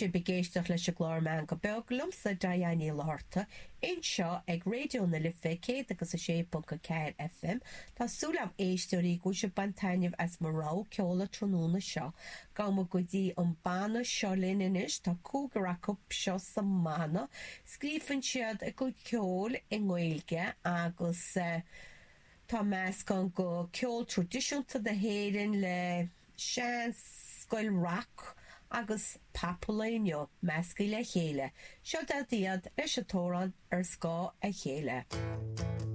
sibh ag éisteacht leis an gclár Meangadh Beag liomsa Diane Ní Fhlatharta anseo ag Raidió na Life 106.4 FM. Tá súil agam éisteoirí go bhfuil sibh ag baint taitneamh as mo rogha ceoil an tráthnóna seo. Gabhfaidh muid go dtí an banna Seo Linn anois, tá cúigear acu seo sa mbanna. Scríobhann siad a gcuid ceoil i nGaeilge agus tá meascán de ceol traidisiúnta na hÉireann le sean-scoil rac agus pop an lae inniu measctha le chéile. Seo iad leis an t-amhrán Ar Scáth a Chéile.